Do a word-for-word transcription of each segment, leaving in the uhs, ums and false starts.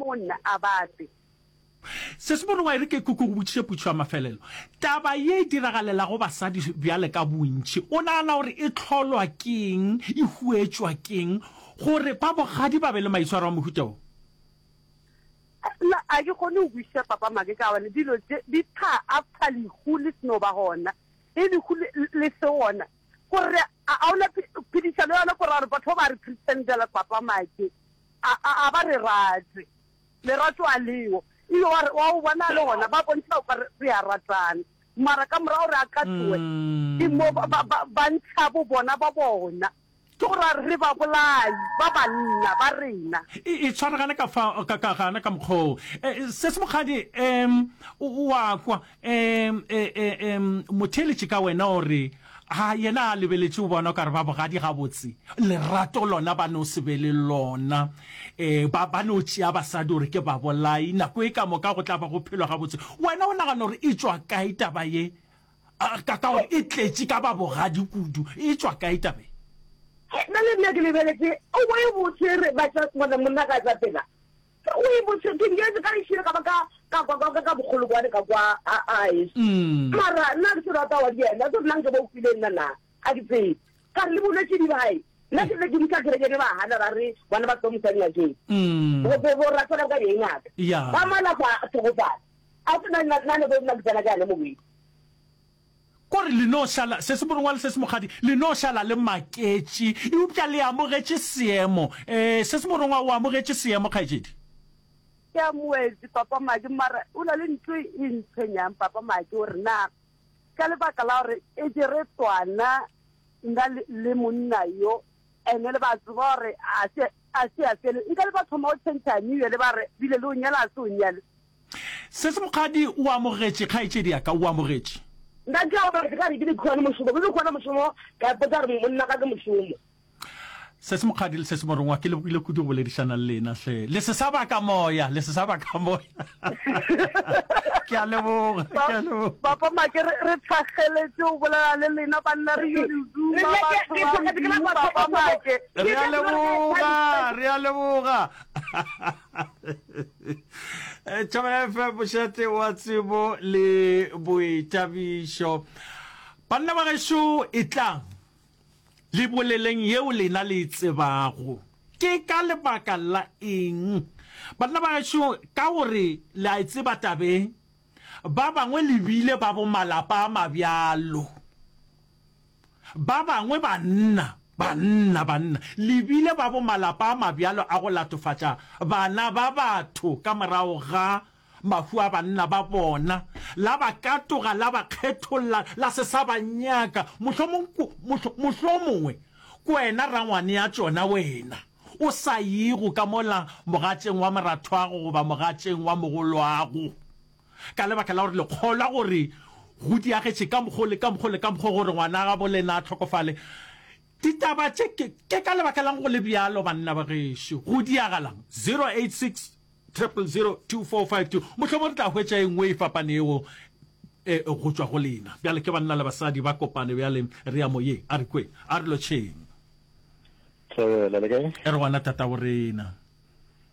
mo go nna a ba tle. Se se borongwa e re ke ke go botšiše potšišo ya mafelelo. Taba ye e diragalelago basadi bjale ka bontši, o nagana gore e hlolwa ke eng, e huetšwa ke eng gore ba bogadi ba be le maitshwaro a mohuta wo? Nna a ke kgone go kwešiša Papa Make ka gobane dilo tše di tla after lehu le seno ba gona. Ge lehu le le se gona, kore a ga ona phedišano yona, kore gore batho ba ba re pretendela Papa Make a a ba re rate. Lerato a leo. Ebile wa re wa o bona le gona ba bontšha o kare re a ratana. Mara ka morago re a katowe ke mo ba ba ba ba ntšha bo bona ba bona. Ke go ra re babolai ba banna ba rena. E, e tshwaragane ka fa, ka, ka gana ka mokgwa oo. E, se se mokgadi, um, o, o a kwa, um, e, e, um, motheeletši ka wena o re, Ha, yena a lebeletše o bona o ka re ba bogadi gabotse, lerato lona ba no se be le lona. E, ba, ba no tšea basadi gore ke babolai, nako e ka moka go tla ba go phelwa gabotse. Wena o nagana gore e tšwa kae taba ye? A, ka, ka gore e tletše ka ba bogadi kudu. E tšwa kae taba ye? Nna le nna ke lebeletše o bo e botse re ba tša bona monna ka tša pela o e botse ke nyetse ka lešile ka ba ka ka kwa ka ka bogolo kwane ka kwa a a e mara nna ke se rata wa di yena se nna nke bo kwile nna na a ke tsebe ka re le bolwetse di bae nna ke le ke misa kereke ba hana ba re bona ba tlo misa ngakeng go go go ratela ka ye ngaka ba malapa a tlhokofala a se nna nna ne bo nna ke tsena ka yone mobedi. Ko re le no šala, se se morongwa le se se mokgadi, le no šala le maketše, eupša le amogetše seemo. Ee, se se morongwa o amogetše seemo, kgaetšedi. Ke amogetše, Papa Maki, mara o na le ntho e ntshwenyang, Papa Maki, gore na ka lebaka la gore e ke re tswana nna le, le monna yo, ene le ba tseba gore a se, a se a fele, nka le ba thoma go tšhentšha new year le ba re bile le o nyala a se o nyale. Sesi Mokgadi, O amogetše, kgaetšedi ya ka, o amogetše. Nna ke a gore ke ka re ke di khone mošomo, ke di khone mošomo, ka ipotsa gore monna ka ke mošomo. Sesi Mokgadi le Sesi Morongwa, ke lebogile kudu go boledišana le lena hle. Le se sa baka moya, le se sa baka moya. Ke a leboga, ke a leboga. Papa Make, re, re thakgeletše go bolela le lena banna, re yo le duma batho ba Modimo, Papa Make. Re a leboga, re a leboga. Thobela F M, mošate wa tsebo le boithabišo. Banna ba gešo, etlang le boleleng yeo lena le e tsebago. Ke ka lebaka la eng banna ba gešo, ka gore le a e tseba tabeng, ba bangwe le bile ba bo malapa a mabjalo. Ba bangwe banna, banna, banna, le bile ba bo malapa a mabjalo a go latofatša bana ba batho ka morago ga mahu a banna ba bona, la ba katoga, la ba kgetholla, la se sa ba nyaka. Mohlomong, mohlo, mohlomongwe ke wena rangwane ya tšona, wena o sa yego ka mola mogatšeng wa morathwago goba mogatšeng wa mogolwago. Ka lebaka la gore le kgolwa gore go diagetše ka mokgo le ka mokgo le ka mokgo gore ngwana gabo lena a hlokofale. Ditaba tše ke, ke ka lebaka la'ng go le bjalo, banna ba gešo? Go diagalang? Zero eight six triple zero two four five two. Mohlomong re tla hwetša e nngwe e fapanego e, go tšwa go lena. Bjale ke banna le basadi ba kopane bjale, re ya moyeng. A re kweng. A re lotšheng. Thobela, le kae? E re gona tatago rena.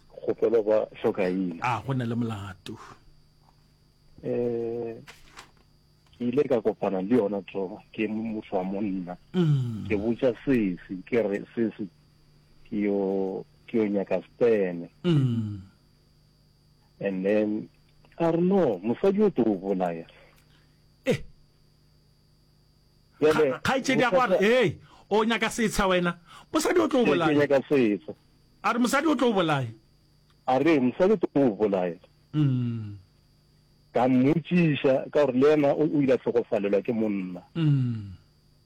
Kgopelo ba hlokaina. A go na le molato. Eh ke ile ka kopana le yona toro ke motho wa monna. Mm. Ke botša sesi ke re sesi ke yo ke yo nyaka stene. Mm. And then a re no mosadi o tlo o bolaya. Eh. Bjale Kgaetšedi ya go a re, "Hey, o nyaka setsha wena. Mosadi o tlo o Ke bolaya." nyaka setsha. A re mosadi o tlo o bolaya. A re mosadi o tlo o bolaya. Mm. Ka mmotšiša ka gore le yena o ile a hlokofalelwa ke monna. Mm.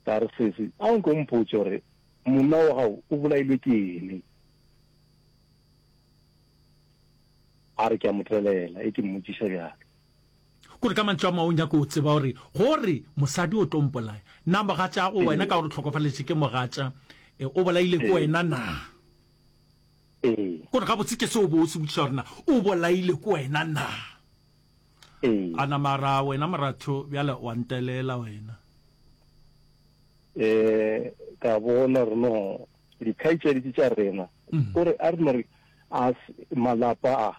Ka re sesi, a nke o mpotše gore monna wa gago o bolailwe ke eng? A re ke a mo tlelela, e ke mmotšiša bjalo. Kore ka mantšu a mangwe o nyaka o tseba gore gore mosadi o tlo mpolaya. Na mogatšago wena ka gore o hlokofaletše ke mogatša, o bolaile ke wena na? Ee. Kore gabotse ke se o bo o se botšiša gore na o bolaile ke wena na? Ee. A na mara wena moratho bjale wa ntelela wena. Eh, ka bona gore no dikgaetšedi tše tša rena, kore a re no re a malapa a